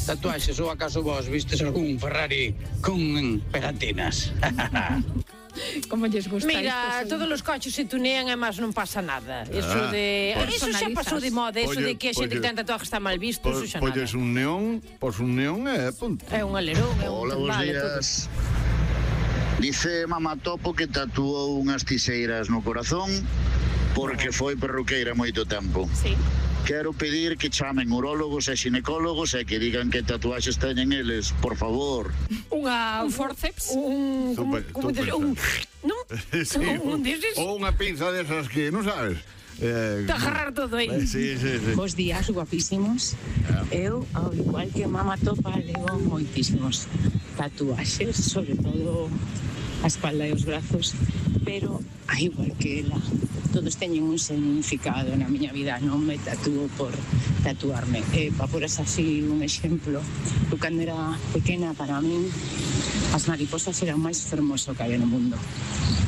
tatuaxes ou acaso vos vistes algún Ferrari con pegatinas? Como lles gusta isto? Mira, todos os coches se tunean e máis non pasa nada. Eso xa pasou de moda, eso de que a xente que ten tatuaje está mal visto, eso xa nada. Polles un neón e punto. É un alerón, é un Hola, bons tembal, días. Dice Mamá Topo que tatuou unhas tiseiras no corazón porque foi perruqueira moito tempo. Sí. Quero pedir que chamen urólogos e xinecólogos e que digan que tatuaxes teñen eles, por favor. Un forceps. Como dices, non? Sí, Un deses. ou unha pinza desas que non sabes. Te agarrar todo aí. Sí. Bos días, guapísimos. Eu, ao igual que Mamá Topa, levo moitísimos tatuaxes, sobre todo a espalda e os brazos, pero, a igual que ela, todos teñen un significado na miña vida, non me tatúo por tatuarme. Pa poras así un exemplo, eu cando era pequena, para min, as mariposas eran o máis fermoso que había no mundo.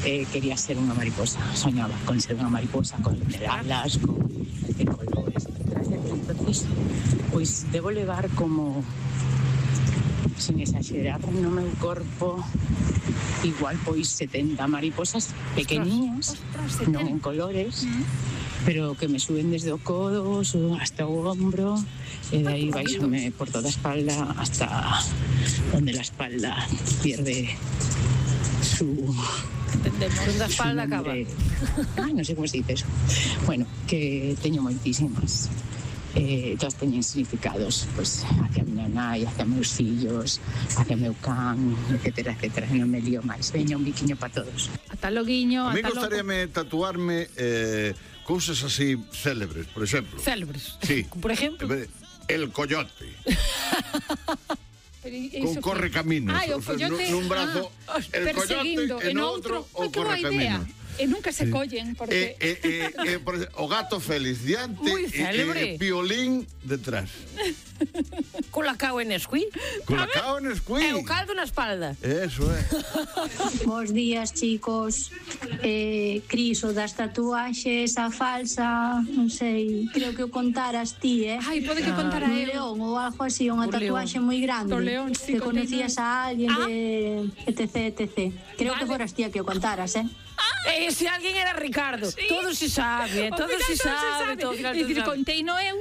Quería ser unha mariposa, soñaba con ser unha mariposa, con alas, con colores, etc. Entonces, pois debo levar como, sin exagerar, no meu corpo igual pois 70 mariposas pequeniñas, non en colores, pero que me suben desde o codo hasta o hombro e de aí baixome por toda a espalda hasta donde la espalda pierde su... Donde a espalda acaba. Ai, non sei como se dice eso. Bueno, que teño moitísimas. Todas teñen significados, pues, hacia a miña nai, hacia meus fillos, hacia meu can, etcétera. Non me lío máis. Veña, un biquiño para todos. Ata loguiño, A mí ata logo. gustaríame tatuarme cousas así célebres, por exemplo. Célebres. Sí. Por exemplo. El coyote. Con Iso corre caminos. Ai, o coyote. Nun brazo el perseguindo, coyote e no outro o corre caminos. E nunca se collen, porque... O gato Félix diante Moi célebre. e violín detrás. Colacao en Nesquí. Colacao en Nesquí. E o caldo na espalda. Eso é. Bos días, chicos. Cris, o das tatuaxes, a falsa, non sei, creo que o contaras ti, Ai, pode que contara un eu. león ou algo así, unha tatuaxe moi grande. Do león, sí, que conocías a alguén de etc. Creo que foras ti a que o contaras, E se alguén era Ricardo. Todo se sabe, todo se sabe. É dicir, conteino eu,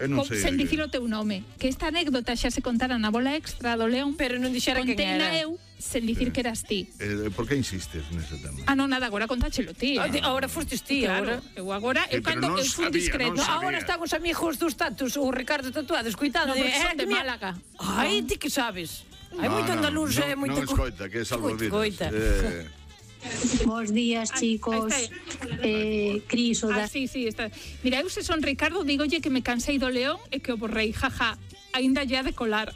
non sei. sen dicir o teu nome. Que esta anécdota xa se contara na bola extra do León, Pero non dixera quen conteina era. eu, sen dicir que eras ti. Por que insistes nese tema? Ah, non, nada, agora contáchelo ti. Agora fostes ti, Claro, agora. eu pero cando non eu fui sabía, discreto. non sabía. Agora están os amigos dos tatus, o Ricardo tatuado, escoitando. No, porque son de Málaga. Ai, ti que sabes? Hai moito andaluz e moito... Non escoita, que é salvavidas. Escoita. Bos días, chicos. Cris, o das... Sí, está. Mira, eu se son Ricardo, dígolle que me cansei do León e que o borrei, jaja, aínda lle ha de colar.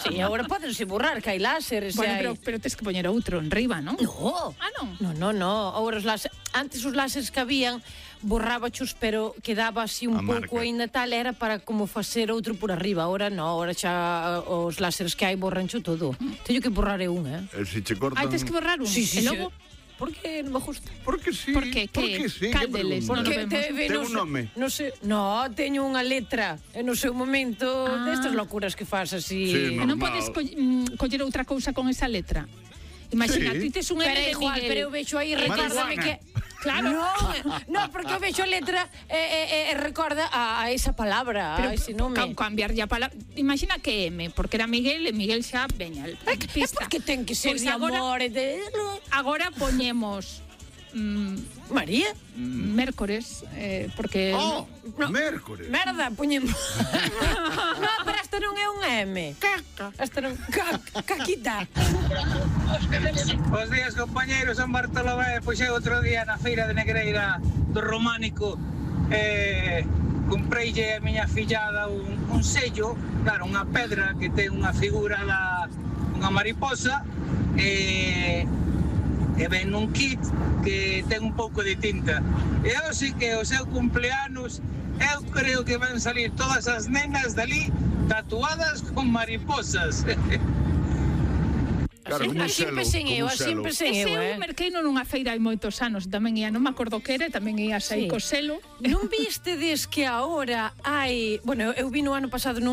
Sí, agora podense borrar, que hai láseres. Bueno, pero tes que poñer outro en riba, non? No. Ah, non? No. Agora os láseres... Antes os láseres que habían borrábachos, pero quedaba así un pouco aínda tal, era para como facer outro por arriba. Agora non, agora xa os láseres que hai borrancho todo. Teño que borrar un, Se che cortan... Ai, tes que borrar un. Sí, E logo... Por que non me gusta? Porque sí. Porque sí. Cáldeles, non lo Porque vemos. Ten un nome. Non sei, no, teño unha letra e no seu momento destas locuras que fas así. Sí, E non normal. podes coller outra cousa con esa letra. Imagina, Sí. ti tes un L Pero de igual, Miguel. pero eu vexo aí, recórdame que... Claro. No, porque eu vexo a letra e recorda a esa palabra, a ese nome. Cambiar ya palabra. Imagina que M, porque era Miguel, e Miguel xa veña. É porque ten que ser Pois de agora- amor e de... Agora poñemos María? Mércores, porque... Oh, mércores. Merda, poñemos... No, pero esta non é un M. Caca. Esta non... Caquita. Bos días, compañeros, San Bartolomé. Pois eu outro día na feira de Negreira do Románico compreille a miña fillada un sello, claro, unha pedra que ten unha figura unha mariposa e ven nun kit que ten un pouco de tinta. E hoxe que o seu cumpleanos, eu creo que van salir todas as nenas dali tatuadas con mariposas. Claro, como un Así selo, empecé como eu, un así selo. empecé Ese eu, eu merqueino nunha feira hai moitos anos, tamén ia, non me acordo que era, tamén ia sair Sí. co selo. Non vistedes que agora hai... Bueno, eu vi no ano pasado